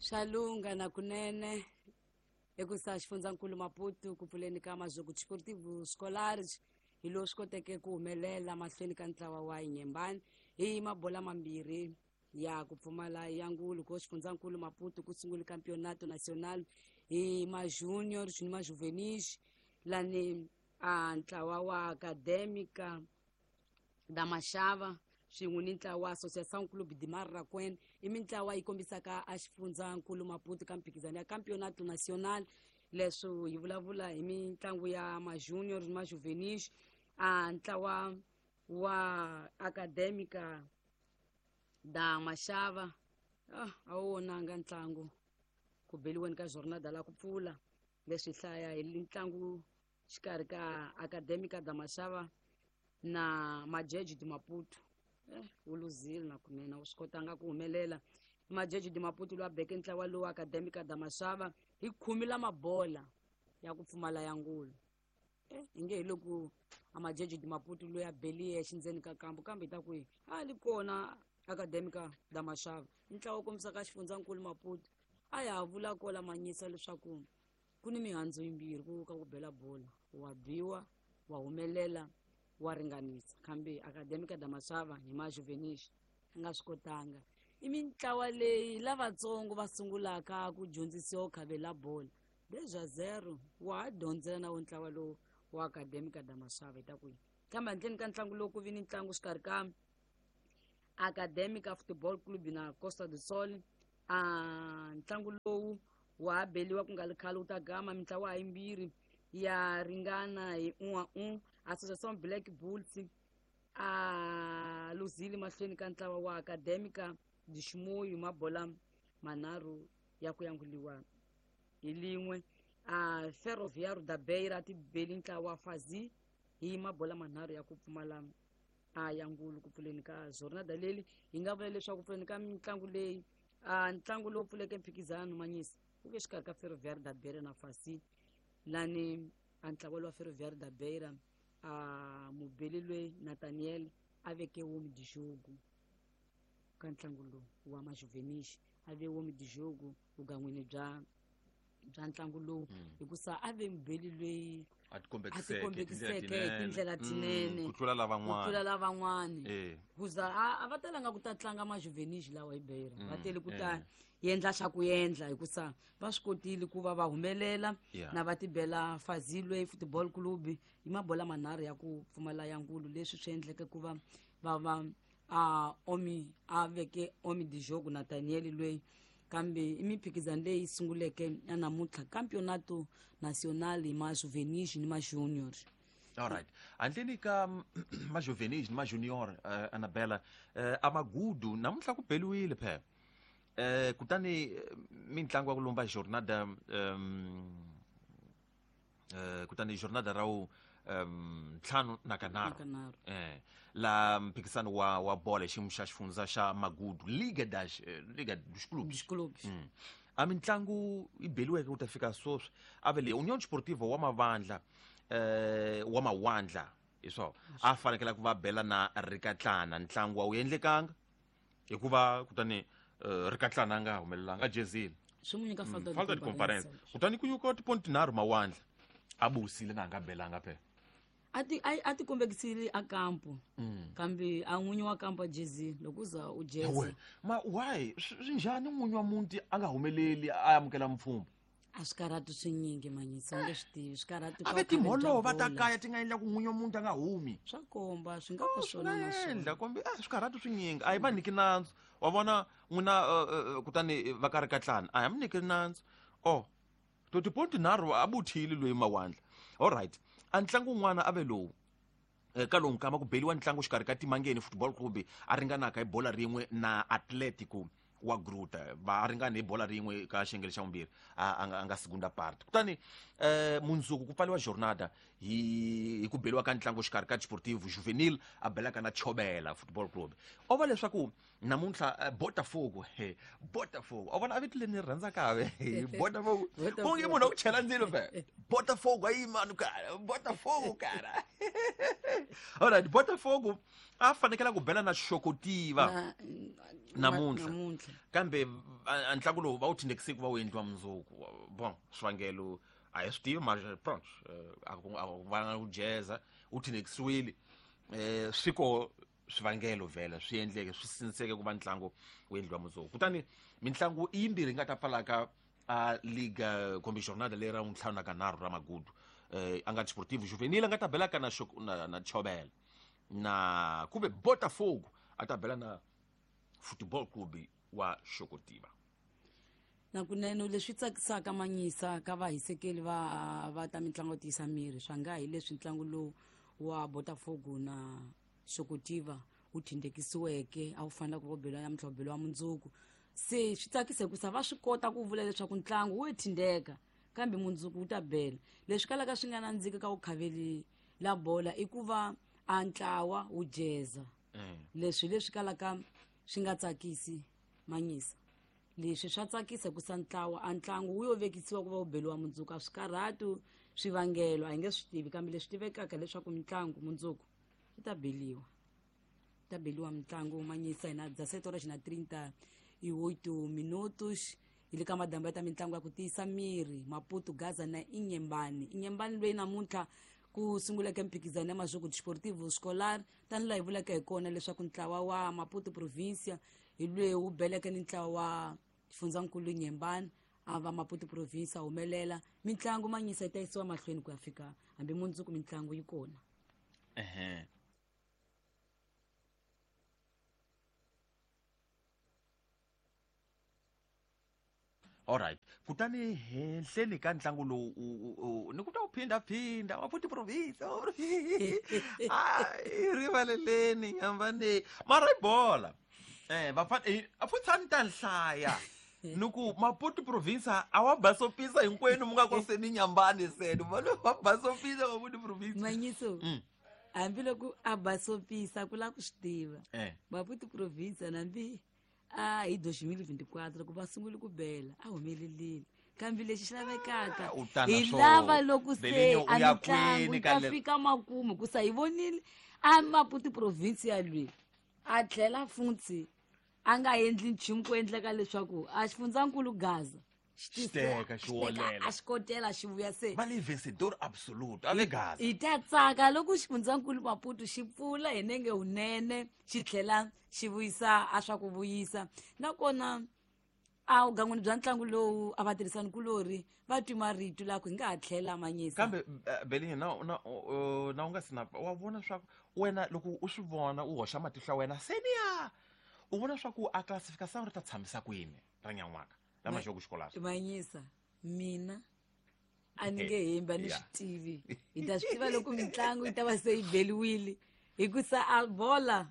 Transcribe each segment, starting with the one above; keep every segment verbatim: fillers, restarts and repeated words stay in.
Swa lungha na kunene ekusa xifundzankulu Maputo ku pfuleni ka Mazhuku Desportivo Scolares hi lowu swi koteke ku humelela mahlweni ka ntlawa wa Inyembani hi mabola mambirhi ya ku pfumala ya ngulu ko xifundzankulu Maputo ku sungule Campeonato Nacional hi ma-junior ni ma-juvenis lani a ntlawa wa Académica da Machava swin'we ni ntlawa wa Associação Clube de Marraquém i mintlawa yi kombisaka a xifundzankulu Maputo ka mphikizano ya Campeonato Nacional. Leswo hi vulavula hi mitlangu ya ma-junior ni ma-juvenis. A ntlawa wa Académica da Machava ah, a wu vonanga ntlangu ku beliweni ka jornada la ku pfula. Leswi hlaya hi ntlangu xikarhi ka Académica da Machava na Majeji de Maputo. Eh, wu luzile na kunene, wu swi kotanga ku humelela. Majeji de Maputo lowu a beke ntlawa lowu Académica da Machava hi khumi la mabola ya ku pfumala ya ngulu. Eh, hi nge hi loko a Majeji de Maputo loyi a beli yexe ndzeni ka kambu, kambe hi ta ku a li kona Académica da Machava i ntlawa wu kombisaka xifundzankulu Maputo. A ya ha vula kola manyisa leswaku ku ni mihandzu yimbirhi ku ka ku bela bola, wa biwa wa humelela wa ringanisa, kambe Académica da Machava hi ma-juvenis a nga swi kotanga. I mintlawa leyi lavatsongo va sungulaka ku dyondzisiwa ku khavela bola deja zero wa ha dyondzela na wo ntlawa lowu wa Académica da Machava. Hi ta ku kambe handleni ka ntlangu lowu ku vi ni ntlangu xikarhi ka Académica Futebol Clube na Costa do Sol. A ntlangu lowu wa ha beliwa ku nga ri khale wu ta gama mintlawa yimbirhi ya ringana hi un'wa un. Associação Black Bulls a luzile mahlweni ka ntlawa wa Académica de Chimoio mabola manharhu ya ku yanguliwa hi lin'we. A Ferroviário da Beira ti beli ntlawa wa Fazi hi mabola manharhu ya ku pfumala a ya ngulu ku pfuleni ka jornada leli. Hi nga vula leswaku pfuleni ka mitlangu leyi a ntlangu lowu pfuleke mphikizano manyisa wu ve xikarhi ka Ferroviário da Beira na Fazi, lani a ntlawa lowa Ferroviário da Beira a mubeli loyi Nathaniel a veke homem de jogo ka ntlangu lowu wa majuvenis, a ve homem de jogo vugan'wini bya bya ntlangu lowu hikusa a ve mubeli loyi a a tikombekiseke tikombekiseke hi tindlela tinene ku tlula ku lavan'wana tlula lavan'wani. Eh. Kuza a a va talanga ku ta tlanga majuvenis lawa hi Beira, va tele ku ta eh. yendla xa ku endla hikusa va swi kotile ku va va humelela Yeah. na va tibela Fazilwe Football Club hi mabola manharhu ya ku pfumala ya ngulu, leswi swi endleke ku va va va a omi a veke homem de jogo Nathaniel loyi. Kambe i mimphikizano leyi sunguleke ya namuntlha Campeonato Nacional hi ma-juvenis ni ma-junior. Alright, handleni ka majuvenis ni majunior, uh, Annabella, uh, amagudu namuntlha ku beliwile phela, uh, kutani eh, mitlangu ya ku lomba jornada um, uh, kutani jornada ra wu um, ntlhanu na kanharhu. Na kanharhu. Eh, la mphikizano wa wa bola xiyimo xa xifundza xa Magudu, Liga das eh, Liga dos Clubes. Dos clubes. Mm. A mitlangu yi beliweke ku ta fika sweswi a ve le Union Sportivo wa mavandla eh wa mawandla hi swona a fanekele ku va bela na Rikatlana, ntlangu a wu endlekanga hikuva kutani eh, Rikatlana a nga humelelanga a jezile. Swi n'wi nyika falta de Falta de comparência. comparência, kutani ku nyuka tiponti tinharhu mawandla a busile na a nga belanga phela. A ti a a ti kombekisile a kampo, kambe a n'winyi wa kampo a jezile loko u za u jeza. We ma why swi swi njhani n'winyi wa muti a nga humeleli a amukela mpfhumba? A swikarhati swinyingi manyisa, u nge swi tivi swikarhati A ka ve vukhale bya timholova ta bola. Kaya ti nga endla ku n'winyi wa muti a nga humi. Swa komba swi nga va Swi swona nga na endla swona. kumbe a swikarhati swinyingi a hi va nyiki nandzu wa vona n'wina, eh, eh, kutani va ka Rikatlana a hi mi nyiki nandzu o to tiponti nharhu a buthile loyi mawandla. Alright, a ntlangu wun'wana a ve lowu. Eh, ka lowu nkama ku beliwa ntlangu xikarhi ka Timangeni Football Club a ringanaka hi bola rin'we na Atletico wa Gruta, va ringana hi bola rin'we ka xiyenge xa vumbirhi a a nga- a nga segunda parte. Kutani eh mundzuku ku pfaliwa jornada hi hi ku beliwa ka ntlangu xikarhi ka Desportivo Juvenil a belaka na Chobela Football Club. O va leswaku Namuntlha Botafogo he Botafogo a vona a vito leri ni rhandzaka ve Botafogo onge munhu a ku chela ndzilo fe Botafogo ayi mani cara Botafogo cara alright Botafogo a fanekela ku bela na Xokotiva namuntlha kambe a ntlangu lowu va wu tindekise ku va wu endliwa mundzuku bon swivangelo a hi swi tivi mara pronto a ku va ku jeza wu tindekisiwile eh swi ko swivangelo vhela swi endleke swi sinseke ku va ntlangu wu endliwa mundzuku kutani mintlangu i yimbirhi yi nga ta pfalaka a liga kumbe jornada leyi ra ntlhanu na kanharhu ra magudu eh a nga Desportivo Juvenil a nga ta belaka na na, na Chobela na kumbe Botafogo a ta bela na Football Club wa Xokotiva. Na kunene leswi tsakisaka manyisa ka vahisekeli va va ta mitlangu tiyisa miri swa nga hi leswi ntlangu lowu wa Botafogo na Xokotiva wu thindekisiweke a wu fanele ku va bela namuntlha wu beliwa mundzuku se swi tsakise ku sa va swi kota ku vula leswaku ntlangu wu thindeka kambe mundzuku wu ta bela leswi kalaka swi nga nandziki ka ku khaveli la bola i ku va a ntlawa wu jeza leswi leswi kalaka swi nga tsakisi manyisa leswi swa tsakisa ku sa ntlawa a ntlangu wu yo vekisiwa ku va wu beliwa mundzuku a swi karhati swivangelo a hi nge swi tivi kambe leswi tivekaka leswaku mitlangu mundzuku yi ta beliwa ta beliwa mitlangu manyisa hina dezessete horas na trinta e oito minutos hi le ka madambu ya ta mitlangu ya ku tiyisa miri Maputo Gaza na Inhambane Inhambane loyi namuntlha ku sunguleke mphikizano ya Majogo Desportivo Escolar tanihi laha hi vulaka hi kona leswaku ntlawa wa Maputo Provincia hi loyi wu beleke ni ntlawa wa xifundzankulu Inhambane a va Maputo Provincia humelela mitlangu manyisa yi ta yisiwa mahlweni ku ya fika hambi mundzuku mitlangu yi kona ehe Alright kutani henhleni ka ntlangu lowu ni ku ta wu phindaphinda Maputo Province ai rivaleleni Inhambane mara i bola eh vafana a futhi ta nhlaya ni ku Maputo Province a wa basopisa hinkwenu mu nga ko seni Inhambane seni va basopisa Maputo Province manyiso hambiloko a basopisa ku lava ku swi tiva Maputo Province nambi a hi dois mil e vinte e quatro loko va sungule ku bela a humelelile kambe lexi xi lavekaka hi lava loko se a mitlangu yi ta fika makumu ku sa hi vonile a Maputo Province ya lweyi a tlhela futhi a nga endli nchumu ku endleka leswaku a xifundzankulu Gaza xi teka xi wolela a xi kotela xi vuya se va le vencedor absoluto a le Gaza hi ta tsaka loko xifundzankulu Maputo xi pfula hi nenge wunene xi tlhela xi vuyisa a swa ku vuyisa nakona a vugangwini bya ntlangu lowu a vatirhisani kulori va twi marito la ku hi nga ha tlhela manyisa kambe Belinye na na na u nga si na wa vona swa ku wena loko u swi vona u hoxa matihlo ya wena seniya u vona swa ku a classification ri ta tshamisa kwini ra nyan'waka la Majogo Escolar manyisa mina a ni nge hembi a ni swi tivi hi ta swi tiva loko mitlangu yi ta va se yi beliwile hikusa a bola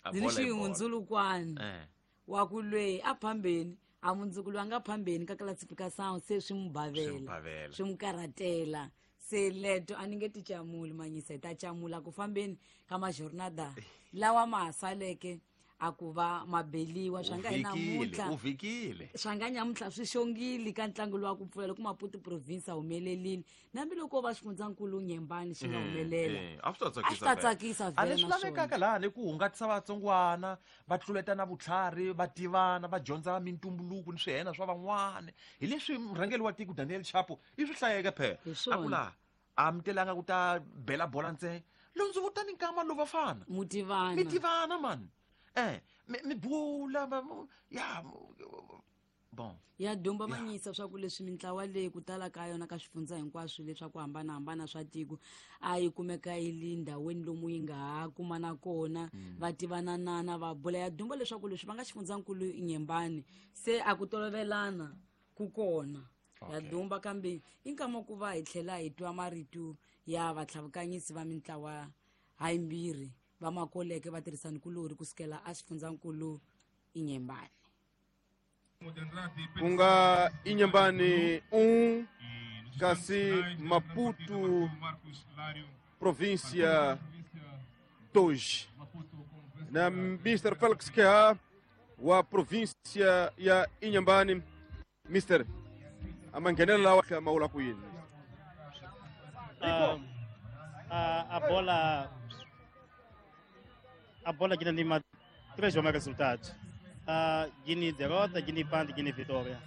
ndzi ni xihundzulukwani wa ku lweyi a phambeni a mundzuku loyi a nga phambeni ka classification se swi n'wi bavela swi n'wi karhatela se leto a ni nge ti camuli manyisa hi ta camula ku fambeni ka majornada lawa ma ha saleke a ku va mabeliwa swa nga hi namuntlha u vhikile swa nga nyamuntlha swi xongile ka ntlangu lowu wa ku pfula loko Maputo Province a humelerile nambiloko va xifundzankulu Inhambane xi nga humelela a swi ta a swi ta tsakisa a leswi lavekaka laha ni ku hungatisa vatsongwana va tluletana vutlhari va tivana va dyondza mintumbuluko ni swihena swa van'wana hi leswi murhangeri wa tiko Daniel Chapo i swi hlayeke phela a ku laha a mi telanga ku ta bela bola ntsena londzi vutani nkama lowu vafana mi tivana mi tivana mani eh mi mi bula ya bon ya dumba manyisa swa ku leswi mintlawa leyi ku tala ka yona ka swifundza hinkwaswo leswaku hambanahambana swa tiko a yi kumeka yi li ndhawini lomu yi nga ha kumana kona va tivananana va bula ya dumba leswaku leswi va nga xifundzankulu Inhambane se a ku tolovelana ku kona ya dumba kambe i nkama ku va hi tlhela hi twa marito ya vatlhavukanyisi va mintlawa hayimbirhi va makoleke va tirhisani kulori kusukela a xifundzankulu Inhambane ku nga Inhambane um kasi Maputo Província dois na mister Félix Keha wa província ya Inhambane. Mister, a manghenelo lawa ma vula ku yini? Uh, a, a bola a bola que tem três bons resultados. Uh, Guiné derrota, Guiné empate, Guiné vitória.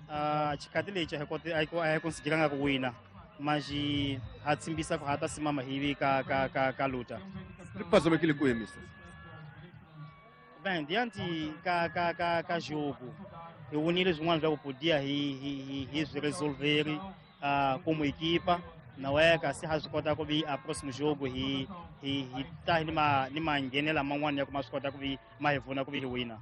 Uh, Chikatile a conseguiram a wina, mas a tsimbisa ku hata simama hivi ka ka ka ka luta. Ripazame kile kuye, mister. Bem, diante ka ka ka ka jogo, e unir swin'wana swa ku podia hi hi hi swi resolver uh, como equipa. Não é kasi ha swi kota ku vi a próximo jogo hi hi hi ta ni ma ni manghenela man'wana ya ku ma swi kota ku vi ma hi pfuna ku vi hi wina.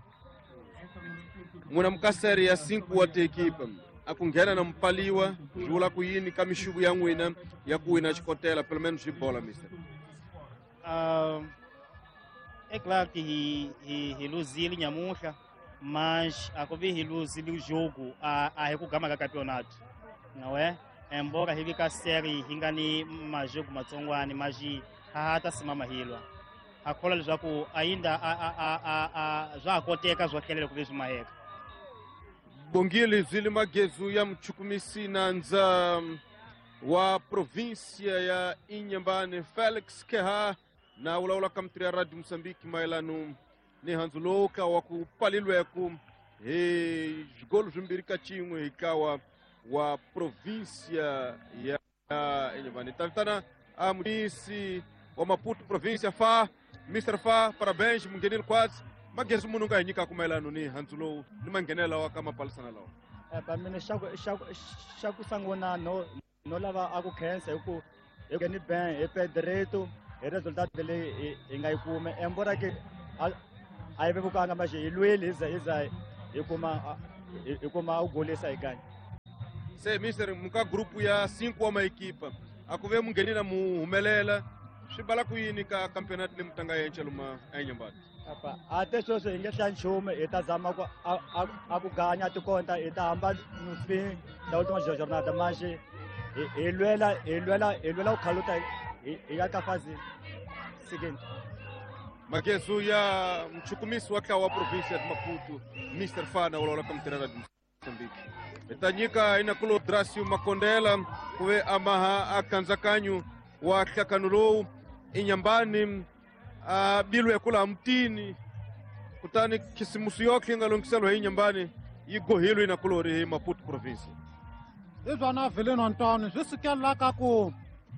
N'wina mukaseri ya cinco wa tiekipa a ku nghena na mpaliwa swi vula ku yini ka mixuku ya n'wina ya ku wina xikotela pelo menos swi bola, mister? Uh, é claro que hi hi hi luzile nyamuhla, mas a ku vi hi luzile o jogo a a hi ku gama ka campeonato, não é? Embora hi vi ka série hi nga ni majogo matsongwani, mas ha ha ta simama hilwa. Ha kholwa leswaku ainda a a a a a swa ha koteka swo tlhelela ku vi swi maheka. Bongile Zwili Magezu ya mchukumisi nandza wa província ya Inhambane Felix Keha na ulawula ka mutiri ya Radio Moçambique mayelano ni handzu lowu ka wa ku palilweku hi swigolo swimbirhi ka xin'we hi kawa wa província ya Inhambane. Ta vitana a mutisi wa Maputo província Fa, mister Fa, parabéns munghenile kwatsi. Magezu munhu nga hi nyikaka mayelano ni handzu lowu ni manghenelo wa ka mapalisana lawa. Pa mina xa ku xa ku xa ku sungula no no lava a ku khensa hi ku hi ngheni ben hi Pedrito hi resultat leyi hi nga yi kuma embora ke a a yi vevukanga mas hi lwile hi za hi za hi kuma hi kuma u golisa hi kanya. Se mister muka grupu ya cinco wa maekipa a ku ve munghenile mu humelela swi bala ku yini ka campeonato leyi mutanga yenca luma eNyambani? Apa ate sweswi hi nge hlaya nchumu hi ta zama ku a a a ku ganya tikonta hi ta hamba no fim da última jornada, mas hi hi lwela hi lwela hi lwela ku khaluta hi hi ya ka fase seguinte. Magezu ya mchukumisi wa ntlawa wa província ya Maputo mister Fana ulawula ka mutirhi wa Moçambique. Hi ta nyika inakulo Dracio Makondela ku ve a maha a kandzakanyo wa nhlakano lowu Inhambane a bilwe kula mutini kutani khisimusi yotlhe yi nga lunghiseriwa hi Inhambane yi gohilwe inakulori hi Maputo province. Hi swona Vilino Ntoni swi sukelela ka ku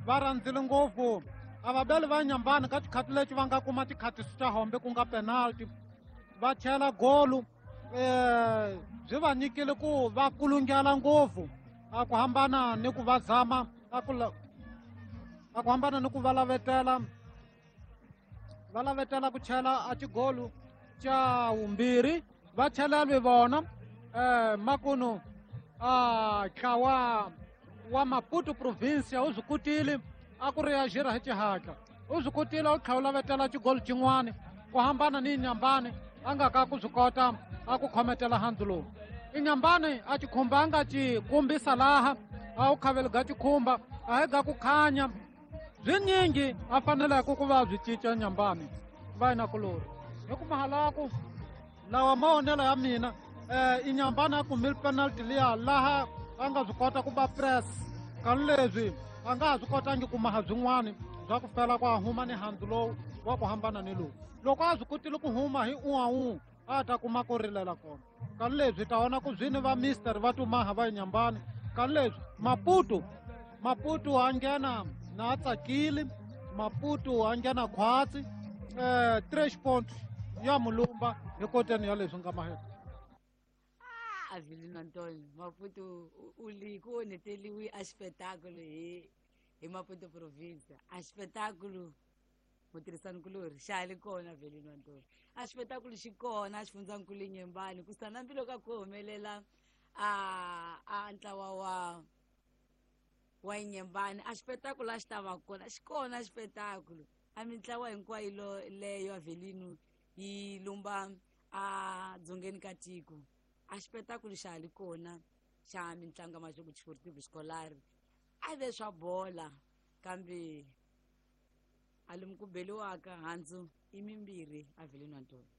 va rhandzile ngopfu a vabeli va Inhambane ka tikhati leti va nga kuma tikhati ta hombe ku nga penalty va chela golu eh byi va nyikile ku va kulungela ngopfu a ku hambana ni ku va zama a ku a ku hambana ni ku va lavetela va lavetela ku chela a xigolu xa vumbirhi va chelelwe vona eh makunu a ntlawa wa Maputo província u swi kotile a ku reagir hi xihatla u swi kotile u tlhela u lavetela xigolu xin'wana ku hambana ni Inhambane a nga ka ku swi kota a ku khometela handzu lowu. Inhambane a xikhumba a nga xi kombisa laha a wu khaveli ga xikhumba a hi ga ku khanya byinyingi a faneleke ku va byi cinca Inhambane va inakulori hi ku mahalaku lawa mavonelo ya mina eh Inhambane a kumile penalty liya laha a nga swi kota ku ba press kani leswi a nga ha swi kotangi ku maha byin'wani bya ku fela ku a huma ni handzu lowu wa ku hambana ni lowu loko a swi kotile ku huma hi un'we a ta kuma ku rilela kona kani leswi ta vona ku byini va mister va tumaha va Inhambane kani leswi Maputo Maputo a nghena na a tsakile Maputo a nghena khwatsi eh três pontos ya mulumba hi koteni ya leswi nga mahela. Avelino Antônio, Maputo u li ku onheteliwe a xipetakulo hi hi Maputo província. A xipetakulo mutirhisanikulori xa ha li kona Avelino Antônio. A xipetakulo xi kona a xifundzankulu Inhambane ku sana mbilu ka ku humelela a a ntlawa wa wa Inhambane a xipetakulo a xi ta va kona xi kona xipetakulo a mintlawa hinkwayo leyo Avelino yi lumba a dzongeni ka tiko. A xipetakulo xa ha li kona xa mitlangu ya Majogo Desportivo Escolar a ve swa bola kambe a lomu ku beliwaka handzu i mimbirhi Avelino Antônio.